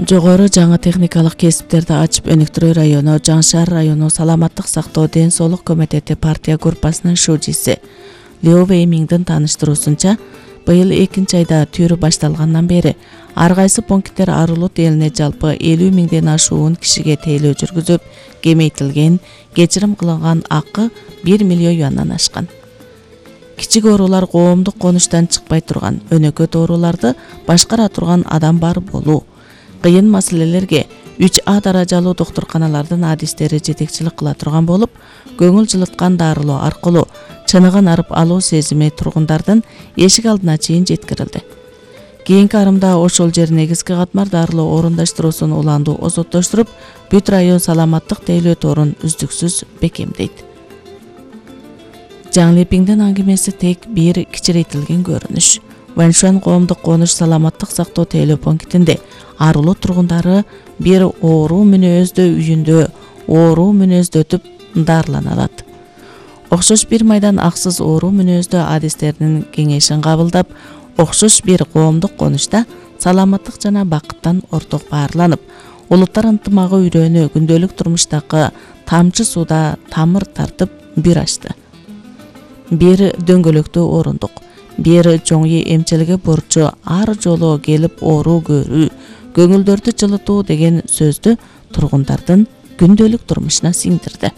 Жогору жаңы техникалык кесиптерди ачып өнүктүрүү району, Жаңы Шаар району Саламаттык сактоо ден соолук комитети партия группасынын шужиси Лео Веймиңдин тааныштыруусунча, быйыл 2 айда түрү башталгандан бери ар кайсы пункттер Арулут элине жалпы 50 миңден ашуун кишиге тейлөө жүргүзүп, кемейтилген, кечирим кылынган акы 1 миллион юандан ашкан. Кичик оорулар коомдук конуштан чыкпай турган, өнөкөт ооруларды башкара турган адам бар болуу, кыйын маселелерге 3А даражалуу доктурканалардын адистери жетекчилик кыла турган болуп, көңүл жылыткан дарылоо аркылуу чыныгын арып алуу сезими тургундардын эшик алдына чейин жеткирилди. Кийинки арымда ошол жер негизги катмар дарылоо орундаштыруусун уландуу озоттоштуруп, бүт район саламаттык тейлөө торун үздүксүз бекемдейт. Жаңлепиңдин аңгемеси тек бир кичирейтилген көрүнүш. Ваншуан коомдук конуш саламаттык сактоо тейлөө пунктинде Арулут тургундары бир оору мүнөздө үйүндө оору мүнөздөтүп дарылана алат. Окшош бир майдан аксыз оору мүнөздө адистеринин кеңешин кабылдап, окшош бир коомдук конушта саламаттык жана бакыттан орток баарланып, улуттар ынтымагы үйрөнүү күндөлүк турмуштагы тамчы сууда тамыр тартып бир ачты. Бир дөңгөлөктүү орундук, бир чоңи эмчилиги бурчу ар жолу келип оору көрүү, көңүлдөрдү жылытуу деген сөздү тургундардын күндөлүк турмушуна сиңдирди.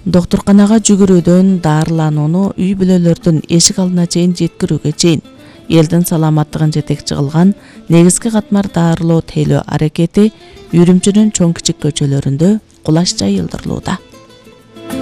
Доктурканага жүгүрүүдөн дарыланууну үй бүлөлөрдүн эшик алдына чейин жеткирүүгө чейин элдин саламаттыгын жетекчи кылган негизги катмар дарылоо тейлөө аракети Үрүмчүнүн чоң кичик көчөлөрүндө кулаш жайылдырылууда.